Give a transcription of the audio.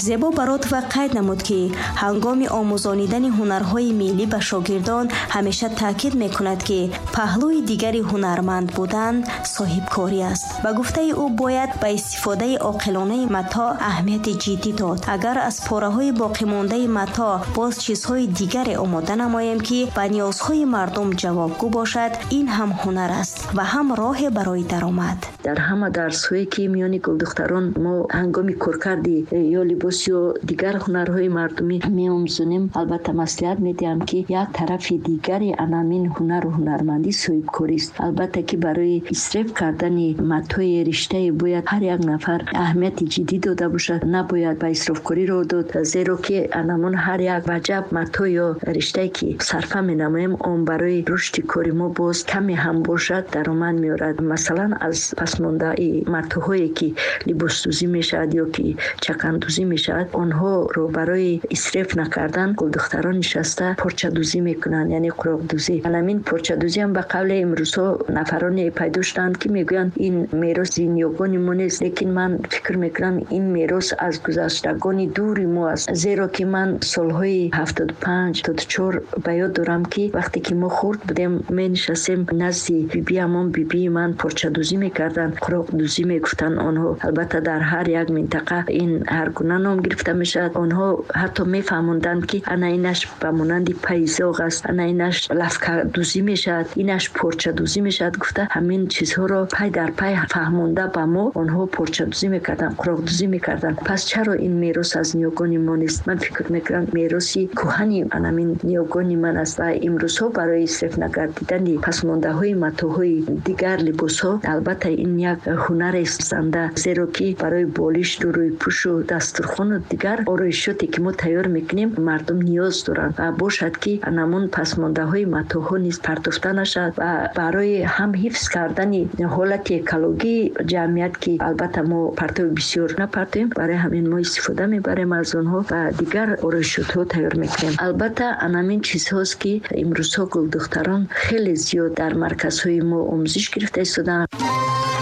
Зебо Баротова қайд намуд, ки ҳангоми омӯзонидани ҳунарҳои миллӣ ба шогирдон ҳамеша таъкид мекунад, ки паҳлӯи дигари ҳунарманд будан соҳибкорӣ аст. Ба гуфтаи ӯ, бояд ба истифодаи оқилонаи матоъ аҳамияти ҷиддӣ дод. Агар аз пораҳои боқимондаи матоъ боз чизҳои дигаре омода намоем, ки ба ниёзҳои мардум ҷавобгӯ бошад, ин ҳам ҳунар аст ва ҳам роҳе барои даромад. Дар ҳама дарсҳое, ки миёни гулдухтарон мо ҳангоми коркарди ё либос ё дигар ҳунарҳои мардумӣ меомӯзонем, албатта маслиҳат медиҳам, ки як тарафи дигари анамин ҳунару ҳунармандӣ соҳибкорист. Албатта, ки барои исреф кардани матои риштае бояд ҳар як нафар аҳамияти ҷиддӣ дода бошад, набояд ба исрофкорӣ роҳ дод, зеро ки анамон ҳар як ваҷаб матоъ ё риштае, ки сарфа менамоем, он барои рушди кори мо боз каме ҳам бошад даромад меорад. Масалан, аз пасмондаи матоъҳое, ки либосдӯзӣ мешавад ё ки чакандӯзӣ мешавад, онҳоро барои исреф накардан гулдухтарон нишаста порчадӯзӣ мекунанд, яъне қуроқдӯзӣ. Анамин порчадӯзӣ ҳам ба қавле имрӯзҳо нафароне пайдо шуданд, ки мегӯянд, ин мероси ниёгони мо нест, лекин ман фикр мекунам, ин мерос аз гузаштагони дури мо аст, зеро ки ман солҳои 75, 74 ба ёд дорам, ки вақте ки мо хурд будем, менишастем назди бибиамон, бибии ман порчадӯзӣ мекарданд, қуроқдӯзӣ мегуфтанд онҳо. Албатта, дар ҳар як минтақа ин ҳар гуна ном гирифта мешавад. Онҳо ҳатто мефаҳмонданд, ки ана инаш ба монанди пайзоғ аст, ана инаш лафкадӯзӣ мешавад, инаш порчадӯзӣ мешавад гуфта, ҳамин чизҳоро пай дар пай фаҳмонда ба мо онҳо порчадӯзӣ мекарданд, қуроқдӯзӣ мекарданд. Пас чаро ин мерос аз ниёгони мо нест? Ман фикр мекунам, мероси кӯҳани анамин ниёгони ман аст ва имрӯзҳо барои исреф нагардидани пасмондаҳои матоъҳои дигар либосҳо, албатта, ин як ҳунарест занда, зеро ки барои болишту рӯйпӯшу дастурхону дигар ороишоте, ки мо тайёр мекунем, мардум ниёз доранд ва бошад, ки анамон пасмондаҳои матоъҳо низ партофта нашавад ва барои ҳам ҳифз кардани ҳолати экологии ҷамъият, ки албатта мо партови бисёр напартоем, барои ҳамин мо истифода мебарем аз онҳо ва дигар ороишотҳо тайёр мекунем. Албатта, анамин чизҳост, ки имрӯзҳо гулдухтарон хеле зиёд дар марказҳои мо омӯзиш гирифта истодаанд.